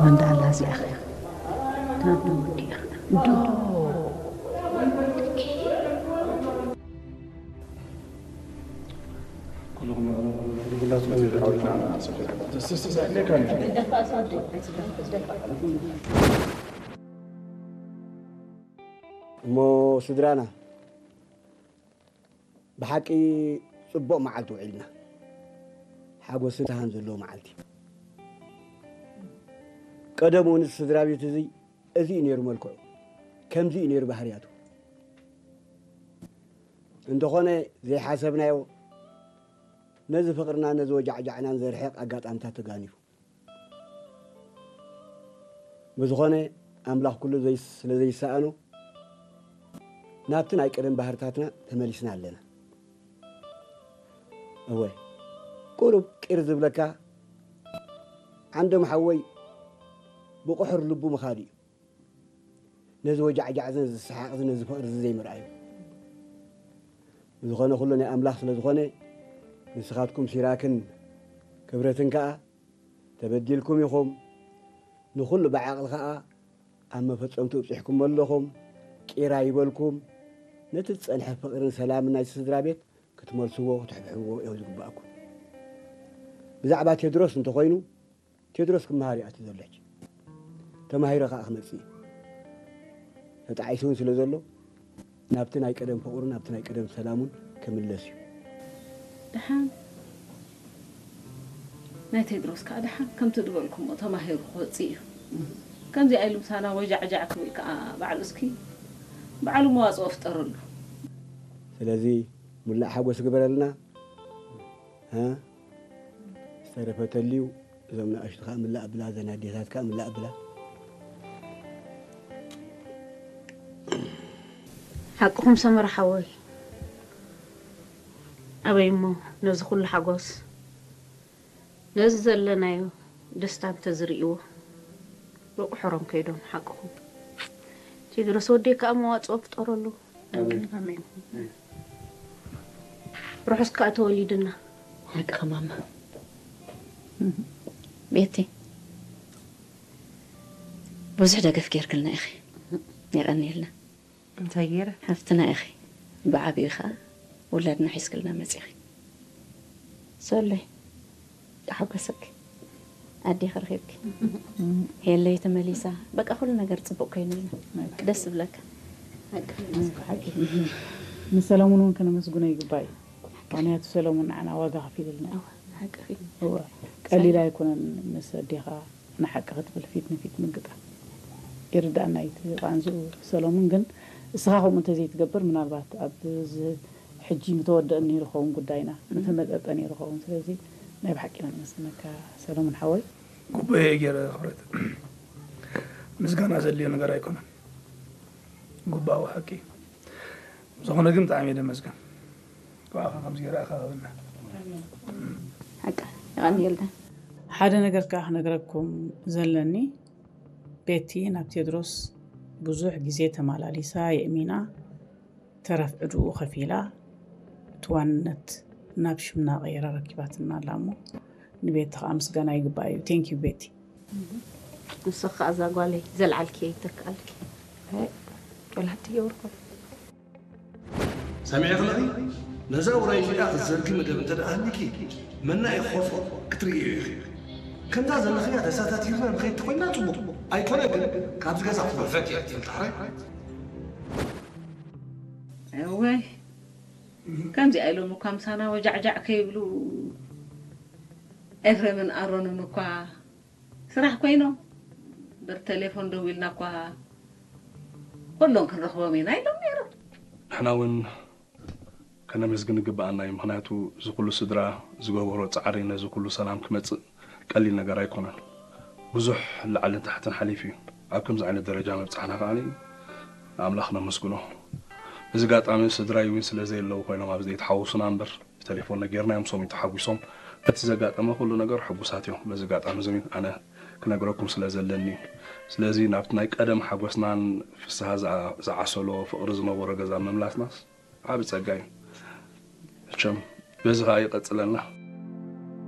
መን ደኣ ኣላ እዚኣ ኸ? እንዶ ወዲኣ። እንዶ። እሞ ስድራና፣ ብሓቂ ጽቡቕ መዓልቲ ውዒልና። ሓጎስን ፍስሃን ዘለዎ መዓልቲ። ቀደም እውን እዚ ስድራ ቤት እዚ፣ እዚ እዩ ነይሩ መልክዑ። ከምዚ እዩ ነይሩ ባህርያቱ። እንተኾነ ዘይሓሰብናዮ፣ ነዚ ፍቕርና፣ ነዚ ወጃዕጃዕናን ዘርሕቕ ኣጋጣምታት ተጋኒፉ። ብዝኾነ፣ ኣምላኽ ኩሉ ዘይስ-፣ ስለ ዘይሰኣኖ፣ ናብቲ ናይ ቀደም ባህርታትና ተመሊስና ኣለና። እወ፣ ቁሩብ ቂር ዝብለካ፣ ዓንዶም ሓወይ፣ ብቑሑር ልቡ ምኻድ እዩ። ነዚ ወጃዕጃዕ እዚ፣ ነዚ ሰሓቕ እዚ፣ ነዚ ፍቕሪ እዚ ዘይምርኣዩ። ብዝኾነ ኩሉ ናይ ኣምላኽ ስለ ዝኾነ፣ ንስኻትኩም ሲራክን ክብረትን ከኣ ተበዲልኩም ኢኹም። ንኹሉ ብዓቕሊ ከኣ ኣብ መፈጸምቱ ኣብጺሕኩሞ ኣለኹም። ቂር ኣይበልኩም። ነቲ ዝጸንሐ ፍቕርን ሰላምን ናይቲ ስድራ ቤት ክትመልስዎ፣ ክትሕብሕብዎ እዩ ዝግባኣኩም። ብዛዕባ ቴድሮስ እንተኾይኑ፣ ቴድሮስ ክመሃር እዩ ኣትዩ ዘሎ ሕጂ። ተማሂረ ከኣ ክመጽእ እዩ። ተጣዒሱ እውን ስለ ዘሎ፣ ናብቲ ናይ ቀደም ፍቕሩን ናብቲ ናይ ቀደም ሰላሙን ክምለስ እዩ። ደሓን ናይ ቴድሮስ ከኣ ደሓን ከምቲ ዝበልኩሞ ተማሂሩ ክወጽእ እዩ። ከምዚኣ ኢሉ ምሳና ወጃዕጃዕ ክብል ከኣ ባዕሉ እስኪ ባዕሉ መዋጽኦ ፍጠረሉ። ስለዚ ሙላእ ሓጎስ ግበረልና። እ? ዝተረፈ ተልዩ እዞም ንኣሽቱ ከኣ ምላእ ኣብላ፣ እዘን ኣዴታት ከኣ ምላእ ኣብላ። ሓቅኹም ሰመረ ሓወይ። ኣበይ እሞ ነዚ ኩሉ ሓጎስ፣ ነዚ ዘለናዮ ደስታ እንተዝርእይዎ፣ ብቑሑሮም ከይዶም። ሓቅኹም። ቴድሮስ ወደይ ከኣ መዋጽኦ ፍጠረሉ። ኣሜን። ኣሜን። ርሑስ ከኣ ተወሊድና። ሓቅኺ ማማ። ቤቲ፣ ብዙሕ ደገፍ ጌርክልና ኢኺ። የቐንየልና። እንታይ ገይረ? ሓፍትና ኢኺ። ብዓቢኡ ኸኣ ውላድና ሒዝክልና መጺኺ። ሶለይ፣ ተሓጎሰኪ። ኣዴኺ ረኺብኪ። ሄለይ ተመሊሳ። በቃ ኩሉ ነገር ጽቡቕ ኮይኑልና። ደስ ዝብለካ። ሓቂ። ንሰለሙን እውን ከነመስግኖ ይግባእ እዩ። ምኽንያቱ ሰለሙን ንዓና ዋጋ ከፊሉልና እዩ። እወ፣ ሓቂ እዩ። እወ፣ ቀሊል ኣይኮነን ምስ ኣዴኻ ንሓቂ ክትብል ፊት ንፊት ምግጣም። ይርዳእና እዩ እቲ ቃንዝኡ ሰለሙን፣ ግን እስኻ ከምኡ እንተዘይትገብር ምናልባት ኣብ እዚ ሕጂ ምተወደአ ነይሩ ኸውን ጉዳይና፣ ምተመጠጠ ነይሩ ኸውን። ስለዚ ናይ ብሓቂ ኢና ነመስግነካ ሰለሙን ሓወይ። ግቡእ እየ ገይረ ክብረት። ምስጋና ዘድልዮ ነገር ኣይኮነን። ግቡኣዊ ሓቂ እዩ። ብዝኾነ ግን ብጣዕሚ እየ ደመስግን። ብኣኻ ከምዚ ገይረ ኣኻኽበና። ሓቂ፣ የቐንየልና። ሓደ ነገር ከኣ ክነግረኩም ዘለኒ፣ ቤቲ ናብ ቴድሮስ ብዙሕ ግዜ ተመላሊሳ የእሚና፣ ተረፍ ዕድኡ ከፊላ፣ እቲ ዋንነት ናብ ሽምና ቀይራ ረኪባትና ኣላ እሞ፣ ንቤቲ ከኣ ምስጋና ይግባእ እዩ። Thank you ቤቲ። ንስኺ ከኣ እዛ ጓለይ ዘልዓልክዮ ይተክኣልኪ። ኣይ፣ ጨላቲ የውርኮ። ሰሚዕኺ ኣለኺ? ነዛ ውራይ እዚኣ ክትዘርጊ መደብ እንተ ደኣ ሃሊኪ፣ መናኢ ክኸፍኦ ክትርእዮ ኢኺ። ከምዛ ዘለኽያ ተሳታፊትና ንኸይድ ተኾይንና ጽቡቕ። ኣይኮነ ግን፣ ካብዚ ገዛ ክወፈት እየ ትብል ዳሕራይ። እወይ፣ ከምዚኣ ኢሎም እኳ ምሳና ወጃዕጃዕ ከይብሉ፣ ኤፍሬምን ኣሮንን እኳ ስራሕ ኮይኖም፣ እምበር ቴሌፎን ደዊልና እኳ ኩሎም ክንረኽቦም ኢና ኢሎም ነይሮም። ንሕና እውን ከነመስግን ይግብኣና እዩ። ምኽንያቱ እዚ ኩሉ ስድራ ዝገበሮ ጻዕሪ ነዚ ኩሉ ሰላም ክመጽእ ቀሊል ነገር ኣይኮነን። ብዙሕ ላዕልን ታሕትን ሓሊፉ እዩ ኣብ ከምዚ ዓይነት ደረጃ ምብጻሕና ከኣ ንኣምላኽ ነመስግኖ። እዚ ኣጋጣሚ ስድራይ እውን ስለ ዘየለዉ ኮይኖም ኣብዚ ዘይተሓወሱና እምበር ብቴሌፎን ነጊርናዮም፣ ሶም ተሓጒሶም። በቲ ዘጋጠመ ኩሉ ነገር ሕጉሳት እዮም። በዚ ኣጋጣሚ እዚ እውን ኣነ ክነግረኩም ስለ ዘለኒ እዩ። ስለዚ ናብቲ ናይ ቀደም ሓጎስናን ፍስሃ ዝዓ- ዝዓሰሎ ፍቕሪ ዝነበሮ ገዛ ምምላስናስ ዓቢ ጸጋ እዩ። መቸም በዚ ከኣ ይቐጽለና።